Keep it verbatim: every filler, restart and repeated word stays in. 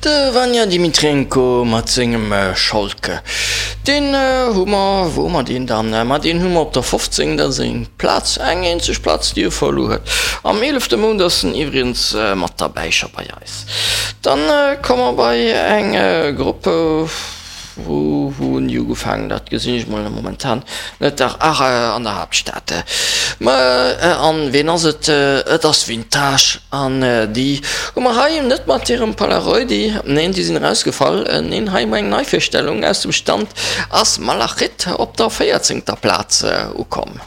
De Vanja Dmitrenko mat sengem Scholke. Deen hu mer, wou hu mer deen dann? Ma deen hu mer op der fofzéng, dat ass eng Plaz, eng eenzeg Plaz, déi e verluer huet. Am eelefte Mount ass en iwwregens mat derbäi scho bei eis. Dann komme mer bei eng Grupp. Wou hunn déi ugefaangen? Dat gesinn ech mol momentan net. Dach, ach, an der Haaptstad. Ma an ween ass et? Et ass Vintage. An déi hu mer hei net mat hirem Polaroidi, neen, déi sinn erausgefall. Neen, hei hu mer eng Neivirstellung aus dem Stand, ass Malachit op der véierzéngter Plaz ukomm.